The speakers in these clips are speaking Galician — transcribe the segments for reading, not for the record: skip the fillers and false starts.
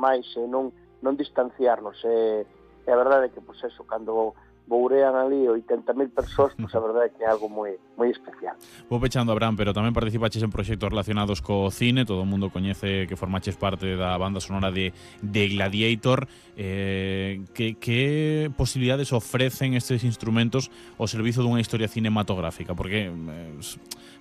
máis e non distanciarnos. E a verdade é que, pois eso, cando bourean ali 80.000 persoas, pois a verdade é que é algo moi especial. Vou pechando, Abraham, pero tamén participaches en proxectos relacionados co cine, todo o mundo coñece que formaches parte da banda sonora de Gladiator. Que posibilidades ofrecen estes instrumentos ao servizo dunha historia cinematográfica? Porque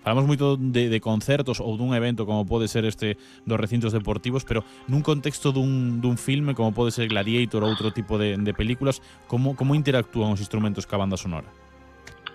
falamos moito de concertos ou dun evento como pode ser este dos recintos deportivos, pero nun contexto dun filme como pode ser Gladiator ou outro tipo de películas, como interactúan os instrumentos ca banda sonora?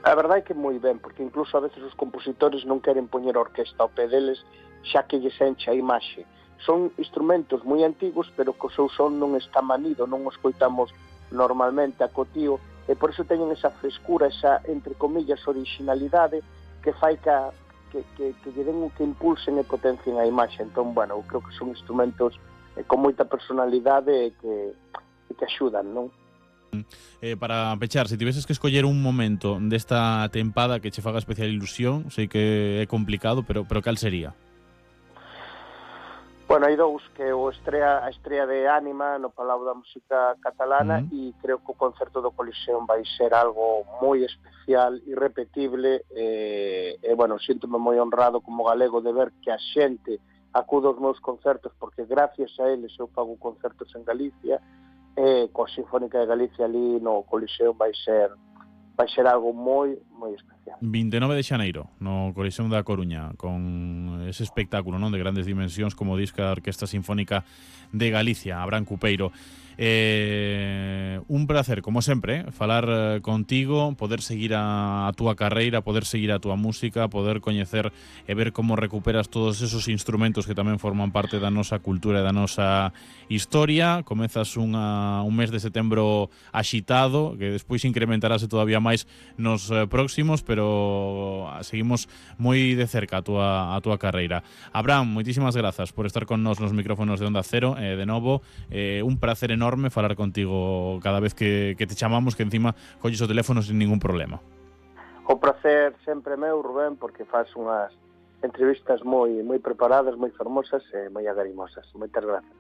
A verdade é que moi ben, porque incluso a veces os compositores non queren poñer a orquesta ao pé deles, xa que lles enche a imaxe. Son instrumentos moi antigos, pero que o seu son non está manido, non os coitamos normalmente a cotío, e por iso teñen esa frescura, esa, entre comillas, originalidade que fai que lle den, que impulsen e potencien a imaxe. Entón, bueno, eu creo que son instrumentos con moita personalidade e que axudan, non? Para pechar, se tiveses que escoller un momento desta tempada que che faga especial ilusión, sei que é complicado, pero cal sería? Bueno, hai dous, que a estrea de Ánima no Palau da Música Catalana, e creo que o concerto do Coliseum vai ser algo moi especial, irrepetible, e bueno, síntome moi honrado como galego de ver que a xente acude aos meus concertos, porque gracias a eles eu fago concertos en Galicia, e coa Sinfónica de Galicia ali no Coliseum vai ser algo moi especial. 29 de xaneiro, no Coliseum da Coruña, con ese espectáculo, non, de grandes dimensións, como disca a Orquesta Sinfónica de Galicia, Abraham Cupeiro. Un placer, como sempre, falar contigo, poder seguir a túa carreira, poder seguir a túa música, poder coñecer e ver como recuperas todos esos instrumentos que tamén forman parte da nosa cultura e da nosa historia. Comezas un mes de setembro axitado, que despois incrementarase todavía máis nos próximos, pero seguimos moi de cerca a túa carreira. Abraham, moitísimas grazas por estar con nós nos micrófonos de Onda Cero, de novo, un placer enorme falar contigo cada vez que te chamamos, que encima colles o teléfono sin ningún problema. O placer sempre meu, Rubén, porque faz unhas entrevistas moi preparadas, moi fermosas e moi agarimosas. Moitas grazas.